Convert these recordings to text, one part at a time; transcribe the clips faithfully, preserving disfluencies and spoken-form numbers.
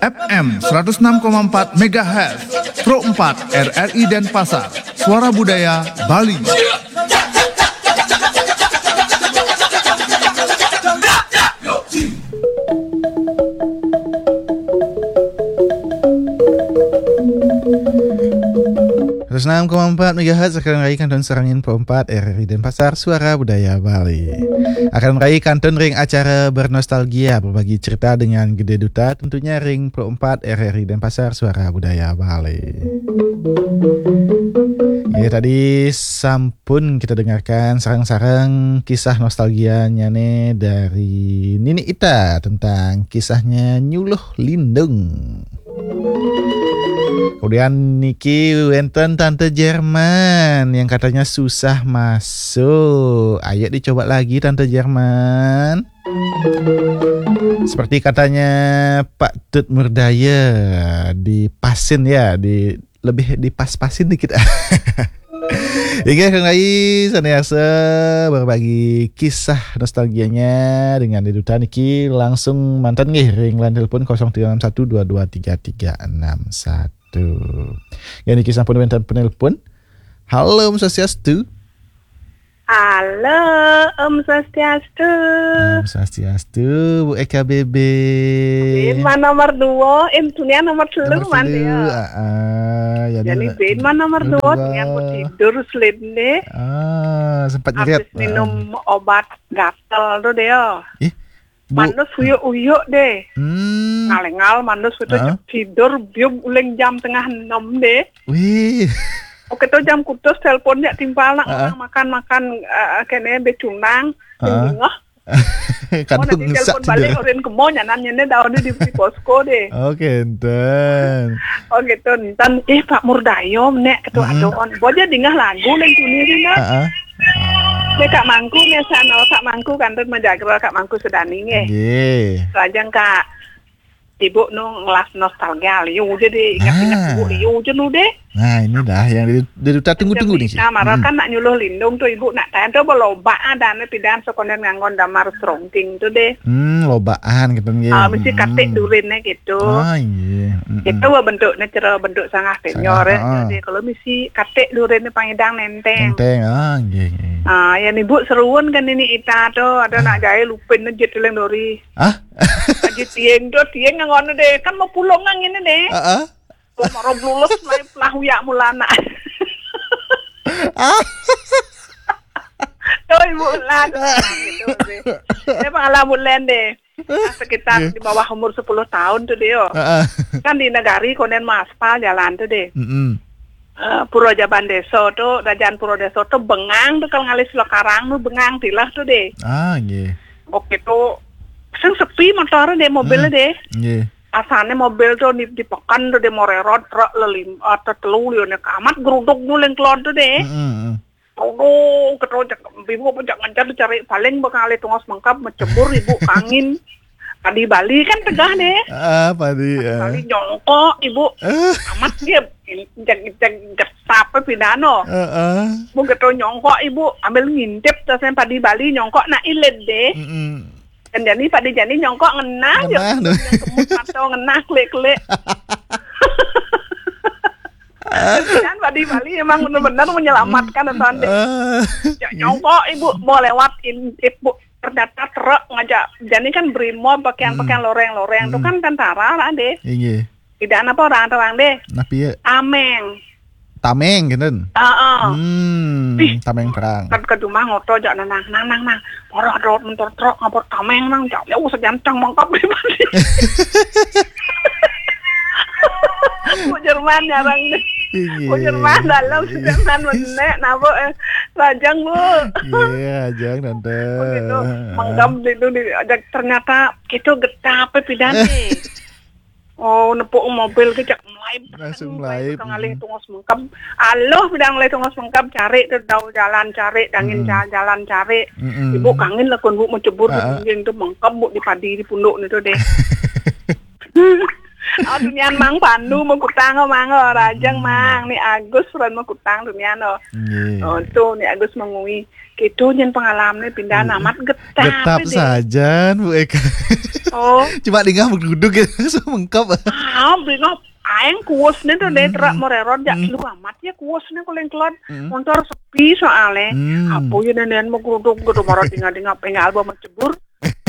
F M seratus enam koma empat megahertz, Pro empat R R I Denpasar, Suara Budaya Bali. Seratus enam koma empat megahertz akan raikan ton sarangin Pro empat R R I Denpasar, Suara Budaya Bali. Akan raikan ton ring acara bernostalgia, berbagi cerita dengan Gede Duta, tentunya ring Pro empat R R I Denpasar, Suara Budaya Bali. Ya, tadi sampun kita dengarkan sarang-sarang kisah nostalgianya nih dari Nini Ita tentang kisahnya Nyuluh Lindung. Kemudian niki wenten Tante Jerman yang katanya susah masuk. Ayo dicoba lagi Tante Jerman. Seperti katanya Pak Tut Murdaya, dipasin ya, di lebih dipas-pasin dikit. Inggih, Kang Rai, saniasa berbagi kisah nostalgianya dengan Gede Duta niki langsung mantan nggih ring line telepon kosong tiga enam satu dua dua tiga tiga enam satu. Ya niki sampun wenten penelpon. Halo, Om Swastiastu. Halo, Om Swastiastu. Om Swastiastu, Bu Eka B B. Bin man nomor dua, eh, dunia nomor telu. Nomor man telu, dia. Ah, ah, ya, jadi dia bin man nomor nomor dua, dua. Dunia mau tidur, sleep nih. Ah, sempat ngeliat. Habis minum, ah, obat gatel tuh dia. Ih, Bu. Manus huyuk-huyuk deh. Hmm. Ngalengal manus itu. Heeh. Tidur bium uling jam tengah enam deh. Wih. Oke, tuh jam kutus teleponnya timpal nak. Heeh. Orang makan-makan, eh, kene becunang. Heeh. Bengah. Kadung. Oh, nanti ngesak telepon balik, cedera. Orin kemo nyanan nyene daun di, di posko deh. Oke, enten. Oh gitu, enten. Eh, Pak Murdayo, nek ketua. Mm-mm. Doon. Boja dingah lagu neng tuni dina. Heeh. Dek Kak Mangku, misalnya Kak Mangku, kantor Majagra, Kak Mangku Sedani, nggih. Nggih. Lajeng Kak Ibu nu ngelas nostalgia, liu aja deh, ingat-ingat. Ah. Ibu, liu aja nu deh. Nah, ini dah yang di, di duta tunggu-tunggu nih, Ci. Nah, marah. Hmm. Kan nak nyuluh lindung tuh, Ibu nak tanya tuh, apa loba ada nih pidan sekonden nganggon damar serongking tuh deh. Hmm, lobaan gitu, nggih. Ah, mesti. Hmm. Katik durinnya gitu. Ah, iya. Mm-mm. Itu wah bentuknya cara bentuk sangat senior, ya. Sangat, ah. Jadi kalau misi katik durinnya pangidang nenteng. Nenteng, ah, nggih, nggih. Ah, ya, Ibu seruan kan ini ita tuh, ada nak jahil lupin aja tuh yang dori. Ah? Aja tieng tuh, tieng yang ngono deh. Kan mau pulang nang ini deh. Heeh. Mau marah lulus, mulai pelah uyak mulana. Ah. Tuh, Ibu lah. Gitu sih. Saya pengalaman deh. Nah, sekitar, nggih, di bawah umur sepuluh tahun tuh dia. Heeh. Kan di negari konen maspal jalan tuh deh. Mm-mm. Eh, Pura Jaban Desa tuh, Rajan Pura Desa tuh bengang tuh kalau ngalih Sulakarang tuh bengang tilah tuh deh. Ah, nggih. Oke tuh, sing sepi motor deh, mobil. Hmm. Deh. Nggih. Asane mobil tuh di, di pekan tuh deh, morerot, truk lelim, atau telu lione kamat, geruduk nyuling kelon tuh deh. Mm-mm. Aduh, ketro cek, Ibu apa cek ngencar cari paling bakal tungos mengkap, mencebur Ibu kangin. Padi Bali kan tegah deh. Ah, padi, ah. Kali nyongkok Ibu. Ah. Amat dia, cek, cek, cek, apa pidano. Heeh. Bu ketro nyongkok Ibu, ambil ngintip, terus yang padi Bali nyongkok, nak ilit deh. Mm-mm. Kan jadi padi jadi nyongkok ngenah, ngenah ya. Tuh. Yang kemut mata ngenah, klik-klik. Kan padi Bali emang benar-benar menyelamatkan, atau ande. Ah. Ya, nyongkok Ibu mau lewat in-, Ibu, ternyata truk ngajak. Jadi kan brimob, pakaian-pakaian. Hmm. Loreng-loreng tuh. Hmm. Kan tentara lah deh. Inggih. Tidak apa orang terang deh. Nah, piye? Tameng. Tameng, gitu. Heeh. Hmm, ih, tameng perang. Kan ke rumah ngoto jak nang, nang, nang, nang. Ora ada motor truk ngapot tameng nang, jak jauh sejancang mangkap di mati. Bu Jerman jarang deh. Iya. Bu Jerman dalam, iya. Jerman menek, napa, eh, lajang, Bu. Iya, lajang, Tante. Begitu, mengkam itu di, ternyata itu getah apa pidane. Oh, nepuk mobil ke cak melaib. Langsung melaib. Ngalih tungos mengkam. Aloh, pidang ngalih tungos mengkam, cari tuh tahu jalan cari, dangin. Mm-mm. Ja-, jalan cari. Mm-mm. Ibu kangin lah kun Bu mencebur. Ah, ah. Di dinding tuh mengkam, Bu, di padi di punduk itu deh. Oh, tunian Mang Pandu mau kutang, oh, Mang, oh, rajang, Mang. Ni Agus, ran mau kutang, tunian, oh. Nggih. Oh, tu, ni Agus mengui. Gitu, nyen pengalaman pindah amat getap. Getap saja, Bu Eka. Oh. Cuma dingah beguduk gitu, so mengkap. Ah, bingok. Aeng kuus nih tuh, deh, terak mererot, jak lu amat ya kuus nih, kuling kelot. Motor sepi soalnya. Apa ya, nenek mau geruduk, geruduk, marah dingah-dingah, pengal bawa mencebur.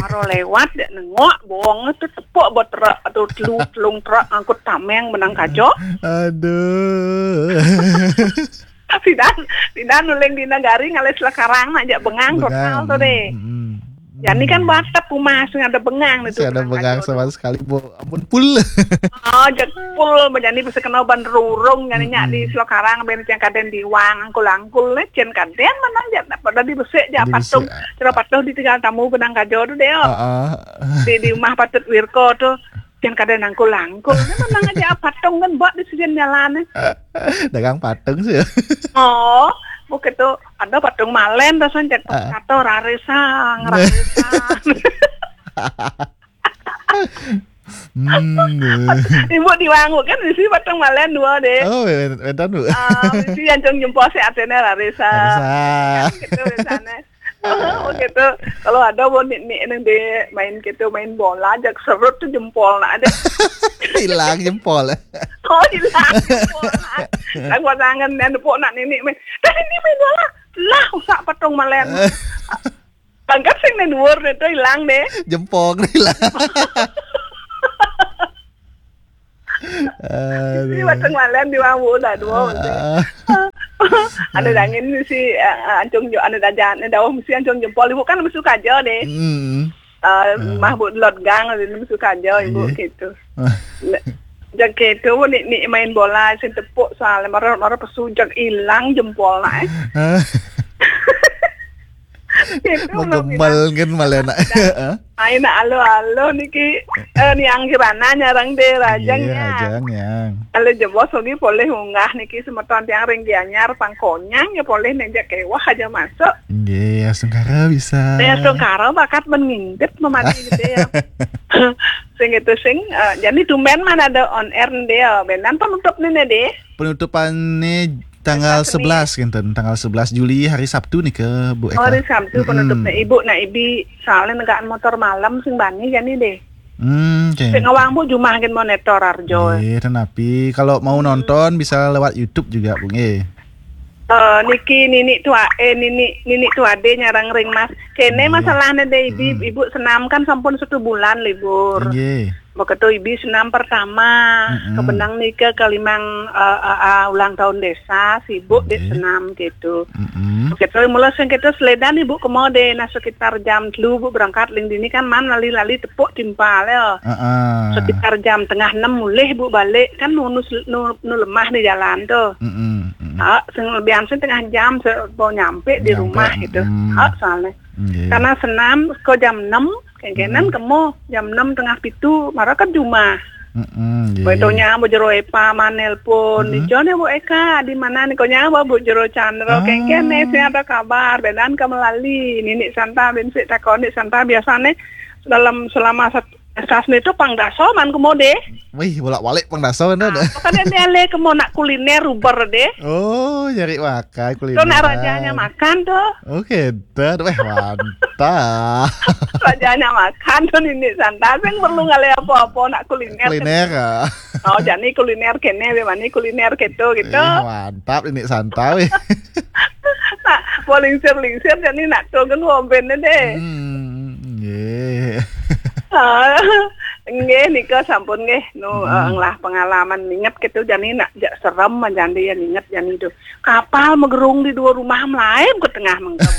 Maro lewat, dek nengok, bawang tu tepuk buat terak tu telu, telung terak ngangkut tameng benang kajo. Aduh. Sidan, sidan uling di negari ngalih selekarang nak jak bengang total tu deh. Jani kan batep rumah sing ada bengang tu. Sing ada bengang sama sekali, Bu. Ampun, pul. Oh, jak pul, jani bisa kena ban rurung, jani nyak di selekarang, ben yang kaden diwang, angkul-angkul, nih, cen kaden mana jak, pada di besek jak patung. Kira patuh ditinggal tamu benang kajo tu deh, oh. Di, di rumah patut Wirko tu, yang kadang nangkul-nangkul. Ni menang aja patung kan buat di sisi jalan ni. Dagang patung sih. Oh, bukan tu. Ada patung malen dah, sanjak kata raresa, ngeraresa. Hmm. Ibu di wangu kan, bisi patung malen dua deh. Oh, wenten, Bu. Ah, bisi ancung jempol si atene raresa. Raresa. Gitu misalnya. Oh, gitu. Kalau ada mau nik nik nang di main gitu, main bola, jak serut tu jempol nak ada. Hilang jempol. Oh, hilang jempol nak. Lang pasangan dan pok nak nini main. Dah ini main bola. Lah, usak patung malen. Pangkat sing nang dhuwur tu hilang deh. Jempol hilang. Aduh. Ini patung malen di wangu dah dua. Ada dangin si, eh, ancung jo, ada dajan, ada daun si ancung jempol, ibu kan masuk aja deh. Hmm. Eh, mah bu lot gang, ada masuk aja ibu gitu. Nah, jak gitu, ni, ni main bola, sing tepuk soalnya marah, marah pesujak hilang jempol nak, eh. Gitu, Magemal kan malah nak. Ai nak alo-alo niki, eh, niang kirana nyarang deh, rajang. Iya, ya. Rajang, yang. Kalau jebos lagi boleh unggah niki semeton tiang ring Gianyar pangkonyang ya boleh nenjak kewah aja masuk. Nggih, astungkara bisa. Ya, astungkara bakat men ngintip memati gitu ya. Sing itu sing, eh, jadi tumben mana ada on air nih deh, benan penutup nih deh. Penutupan nih tanggal sebelas, kinten, tanggal sebelas Juli, hari Sabtu nih ke, Bu Eka. Oh, hari Sabtu penutupnya. Ibu nak ibi soalnya negaan motor malam sing bani jani deh. Hmm, oke. Sing ngawang bu jumah gen monitor arjo. Iya, dan api. Kalau mau nonton bisa lewat YouTube juga, Bu, nggih. Eh, niki nini tua, eh, nini, nini tua de nyarang ring mas. Kene masalahnya deh, ibu, ibu senam kan sampun satu bulan libur. Nggih. Begitu ibi senam pertama, kebenang nika ke limang, eh, eh, eh, ulang tahun desa, sibuk di senam gitu. Begitu mula sing kita seledan ibu kemode, nah sekitar jam telu bu berangkat ling dini kan man lali-lali tepuk timpal ya. Sekitar jam tengah enam mulih bu balik kan nu, nu, nu, nu lemah di jalan tuh. Ha, sing lebihan sing tengah jam se-, mau nyampe di rumah gitu. Ha, soalnya. Nggih. Karena senam ke jam enam, kengkenan kemo jam enam tengah pitu, mara kan jumah. Heeh, nggih. Bae to nyambo jero Epa manelpon, "Dijone Bu Eka, di mana nih?" Ko nyambo Bu jero Chandra, kengkene sing ada kabar, benan ka melali. Nini Santa bin sik takon, Nik Santa biasane dalam selama sat-, sasne itu pang daso man kemode. Wih, bolak-balik pang daso kan. Ah, kan ini ale kemo nak kuliner uber deh. Oh, nyari makan kuliner. Tuh nak rajanya makan tuh. Oke. Tet, weh, mantap. Rajanya makan tuh nini Santa, sing perlu ngalih apa-apa nak kuliner. Kuliner, ah. Oh, jani kuliner kene, be mani kuliner keto gitu. Eh, mantap ini Santa, weh. Nah, mau lingsir-lingsir jani nak turun womben deh. Hmm, nggih. Ah, nggih nika sampun nggih. Nu, eh, ngelah pengalaman inget gitu jani nak jak serem jani ya inget jani tuh. Kapal megerung di dua rumah melayu ke tengah mengkep.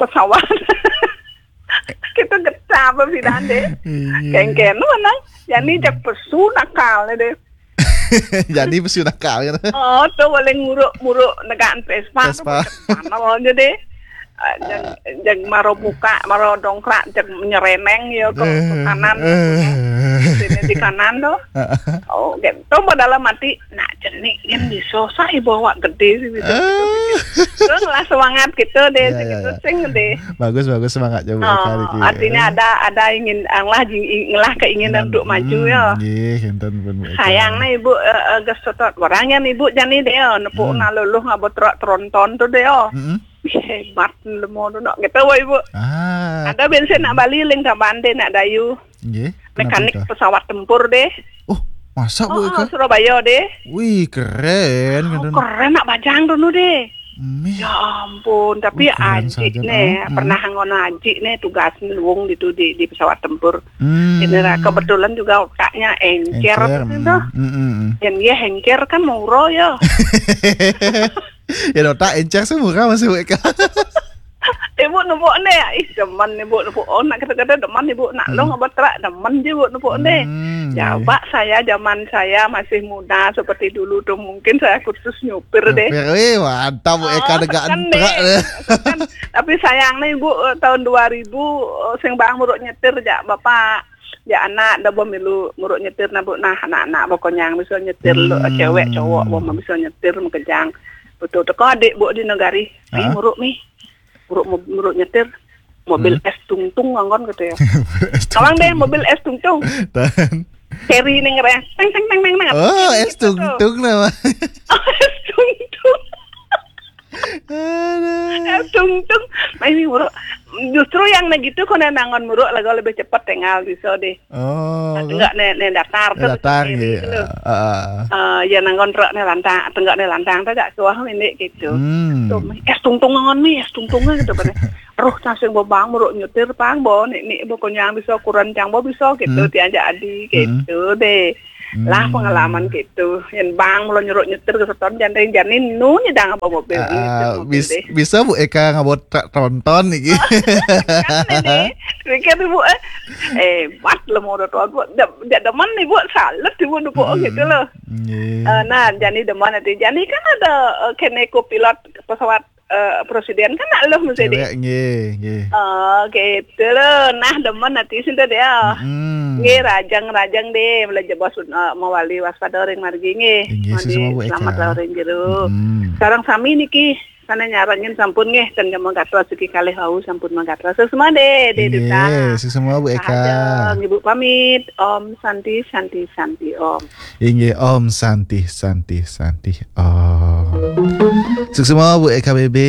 Pesawat. Kita getah apa sih dande? Iya. Kengken mana? Jani jak pesu nakal deh. Jadi pesu nakal kan. Oh, tuh boleh nguruk-nguruk negaan Vespa. Vespa. Mana aja deh. Ah, jang, jang maro buka, maro dongkrak, jang nyereneng ya ke, ke kanan. Sini di kanan tuh. Oh, gitu. Padahal mati, nak jenik yang bisa, saya bawa gede sih, gitu, gitu, gitu. Terus lah semangat gitu deh, ya, ya, segitu ya. Sing deh. Bagus, bagus semangatnya, Bu Eka, oh, niki. Artinya ada, ada ingin, Allah jing-, ing-, lah keinginan untuk maju ya. Nggih, enten pun, Bu Eka. Sayang nih, Ibu, eh, eh, geus totot. Barang yang Ibu jani deh, oh, nepuk naluluh ngabot tronton tuh deh, oh. Mm-mm. Hebat, lemo tu nak. Gitu, wah, Ibu. Ah. Ada bensin nak Bali, ling tambande nak Dayu. Nggih. Mekanik pesawat tempur deh. Oh, masa, Bu Eka? Surabaya deh. Wih, keren. Oh, keren nak bajang tu deh. Ya ampun, tapi anjik nih, pernah ngono anjik nih tugas luwung gitu di, di pesawat tempur. Hmm. Ini ra-, kebetulan juga otaknya encer gitu. Yang dia encer kan murah ya. Ya, otak encer sih murah masih, Bu Eka. Ibu nupuk nih, ih, demen Ibu nupuk. Oh, nak kata-kata demen Ibu, nak lo ngebetrak demen je Ibu nupuk nih. Hmm, ya, iya. Pak, saya zaman saya masih muda seperti dulu tuh, mungkin saya kursus nyupir deh. Nyupir, wih, mantap, Bu Eka, oh, negak kan entrak deh. Kan. Tapi sayang nih, Bu, eh, tahun dua ribu, eh, sing bang muruk nyetir, jak Bapak, jak anak, dah bom milu muruk nyetir, nah, Bu, nah, anak-anak, pokoknya yang bisa nyetir, lo, cewek, cowok, bom bisa nyetir, makejang. Betul, teko adik, Bu, di negari. Ih, muruk, nih. Muruk, muruk nyetir. Mobil es tungtung nganggon gitu ya. Mobil es tungtung. Tawang deh, mobil es tungtung. Seri ning reh. Teng, teng, teng, teng, teng. Oh, es tungtung nama. Oh, es tungtung. Aduh. Es tungtung. Nah, ini muruk. Justru yang gitu, kono nangon muruk, lagu lebih cepet tinggal bisa deh. Oh. Nah, enggak, nih, nih datar tuh. Datar gitu. Heeh. Eh, ya nanggon truk nih lantang, enggak nih lantang tuh gak suah ini gitu. Hmm. Tuh, es tungtung nganggon nih, es tungtung gitu kan. Aduh, cang sing bobang muruk nyetir pang bo, nih, nih, pokoknya bisa kurang cang bo bisa gitu, tiang jadi gitu deh. Lah pengalaman gitu. Yang bang mula nyuruh nyetir ke seton jandeng janin nu nyedang apa mobil ini, ah, mobil bis-, deh. Bisa Bu Eka ngabot tra-, tronton nih. Kan ini, pikir Ibu, eh, eh, mat lo mau udah tuan Bu, jak demen nih Bu, salut Ibu, Bu, gitu loh. Iya. Eh, nah, jani demen nanti. Jani kan ada, eh, kene pilot pesawat, eh, presiden kan nak lo mesti deh. Cewek, nggih, nggih. Oh, gitu loh. Nah, demen nanti sih deh ya. Mm-mm. Nggih, rajang-rajang deh, belajar bos, eh, mawali waspada ring margi nggih. Inggih, mawali sesama Bu Eka. Selamat lah ring jero. Mm-mm. Sareng sami niki, sana nyarengin sampun nggih, ten manggatos siki kalih wau sampun manggatos. Sesama deh, deh, inggih, duta. Sesama Bu Eka. Sahaja, Ibu pamit. Om Santi, Santi, Santi, Om. Inggih, Om Santi, Santi, Santi, Om. Suksma Bu Eka B B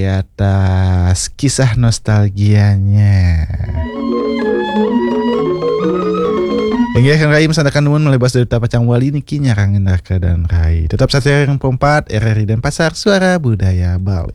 atas kisah nostalgianya. Inggih, Kang Rai, masandakan nuwun malih basa duta pacang wali niki nyarengin Raka dan Rai. Tetap satia ring empat R R I Denpasar, Suara Budaya Bali.